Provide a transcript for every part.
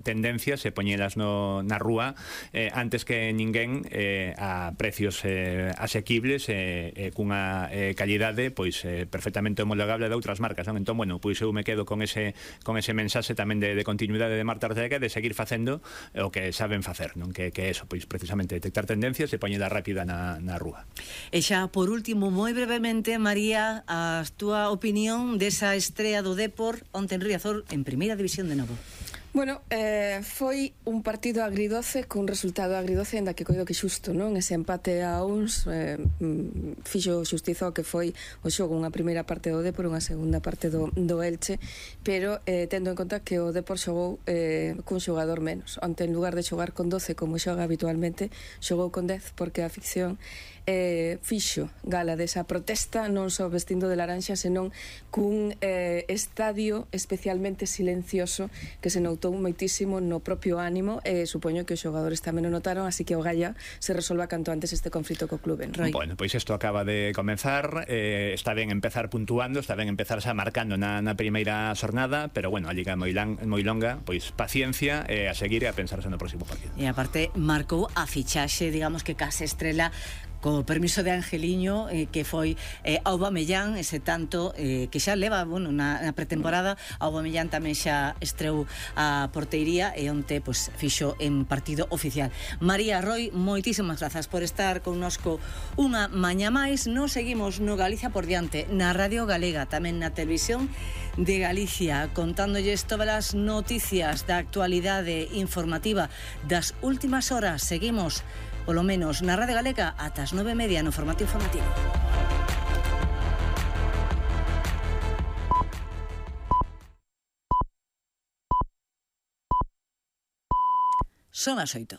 tendencias e poñelas na rúa antes que ninguén a precios asequibles e cunha calidade pois perfectamente homologable de outras marcas, non? Entón, bueno, pois eu me quedo con ese mensaxe tamén de continuidade de Marta Ortega, de seguir facendo o que saben facer, non? Que eso, pois precisamente detectar tendencias e poñela rápida na rúa. E xa, por último, moi brevemente, María, a túa opinión desa estrea do Dépor onte en Riazor en Primeira División de novo. Bueno, foi un partido agridoce, cun resultado agridoce, ainda que coido que xusto, non? Ese empate a uns fixo xustiza o que foi o xogo, unha primeira parte do Dépor, unha segunda parte do Elche, pero tendo en conta que o Dépor xogou cun xogador menos. Onte, en lugar de xogar con 12 como xoga habitualmente, xogou con 10, porque a ficción fixo gala desa protesta, non só vestindo de laranxa, senón cun estadio especialmente silencioso que se notou moitísimo no propio ánimo, e supoño que os xogadores tamén o notaron, así que o Galla se resolva canto antes este conflito co clube. Roy. Bueno, pois isto acaba de comenzar, está ben empezar puntuando, está ben empezar xa marcando na primeira xornada, pero bueno, a liga moi longa, pois paciencia e a seguir e a pensarse no próximo partido. E aparte marcou a fichaxe, digamos que case estrela, co permiso de Angeliño, que foi Aubameyang, ese tanto que xa leva, bueno, na pretemporada. Aubameyang tamén xa estreou a porteiría e onte pois fixo en partido oficial. María, Roy, moitísimas grazas por estar connosco unha mañá máis. Nos seguimos no Galicia por diante, na Radio Galega, tamén na televisión de Galicia, contándolles todas as noticias da actualidade informativa das últimas horas. Seguimos polo menos na Radio Galega ata as 9:30 no formato informativo. Son as 8.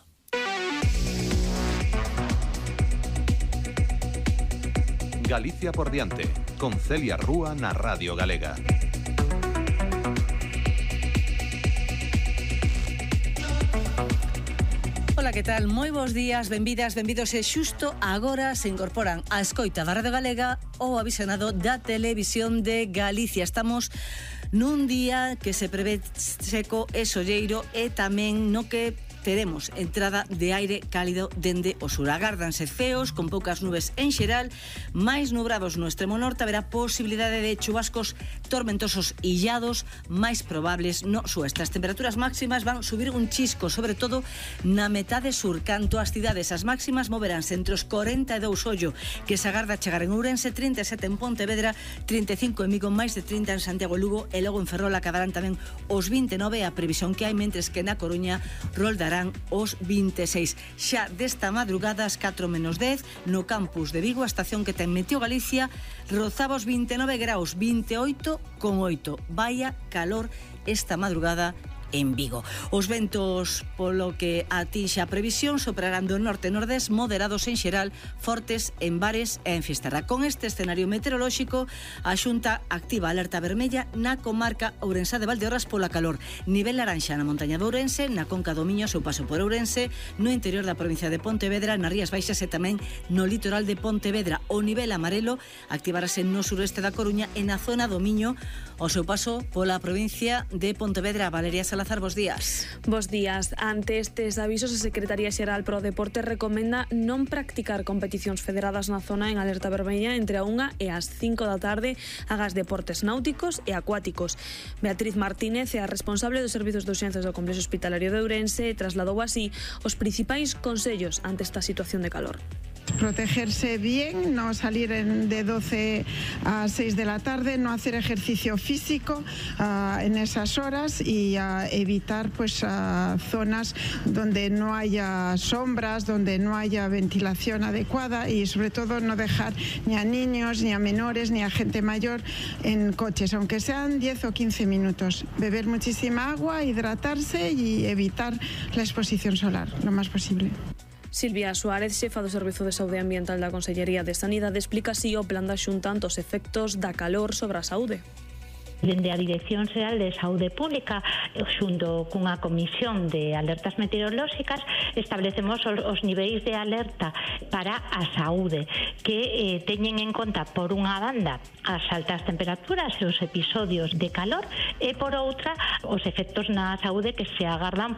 Galicia por diante, con Celia Rúa na Radio Galega. Ola, que tal? Moi bons días, benvidas, benvidos. E xusto agora se incorporan a escoita da Radio Galega ou a visionado da Televisión de Galicia. Estamos nun día que se prevé seco e solleiro e tamén no que teremos entrada de aire cálido dende o sur. Agárdanse ceos con poucas nubes en xeral, máis nubrados no extremo norte, haberá posibilidade de chubascos tormentosos illados máis probables no sueste. As temperaturas máximas van subir un chisco, sobre todo na metade sur. Canto ás cidades, as máximas moveránse entre os 42 ollo que se agarda chegar en Ourense, 37 en Pontevedra, 35 en Vigo, máis de 30 en Santiago e Lugo, e logo en Ferrol acabarán tamén os 29, a previsión que hai, mentres que na Coruña roldarán os 26. Xa desta madrugada ás 4:10 no campus de Vigo, a estación que ten Meteo Galicia, rozaba os 29 graus, 28,8. Vaya calor esta madrugada en Vigo. Os ventos, polo que atinxe a previsión, soprarán do norte e nordés, moderados en xeral, fortes en Bares e en Fisterra. Con este escenario meteorolóxico, a Xunta activa alerta vermella na comarca ourensá de Valdeorras pola calor. Nivel laranxa na montaña de Ourense, na conca do Miño, seu paso por Ourense, no interior da provincia de Pontevedra, nas Rías Baixas e tamén no litoral de Pontevedra. O nivel amarelo activarase no suroeste da Coruña e na zona do Miño, o seu paso pola provincia de Pontevedra. Valeria Salazar, bos días. Bos días. Ante estes avisos, a Secretaría Xeral pro Deporte recomenda non practicar competicións federadas na zona en alerta vermella entre a 1 e as 5 da tarde, agas deportes náuticos e acuáticos. Beatriz Martínez é a responsable dos servizos de urxencias do Complexo Hospitalario de Ourense e trasladou así os principais consellos ante esta situación de calor. Protegerse bien, no salir de 12 a 6 de la tarde, no hacer ejercicio físico en esas horas y evitar zonas donde no haya sombras, donde no haya ventilación adecuada, y sobre todo no dejar ni a niños, ni a menores, ni a gente mayor en coches, aunque sean 10 o 15 minutos. Beber muchísima agua, hidratarse y evitar la exposición solar lo más posible. Silvia Suárez, xefa do Servizo de Saúde Ambiental da Consellería de Sanidade, explica así o plan da Xunta ante os efectos da calor sobre a saúde. Dende a Dirección Xeral de Saúde Pública, xunto cunha comisión de alertas meteorolóxicas, establecemos os niveis de alerta para a saúde, que teñen en conta, por unha banda, as altas temperaturas e os episodios de calor, e por outra, os efectos na saúde que se agardan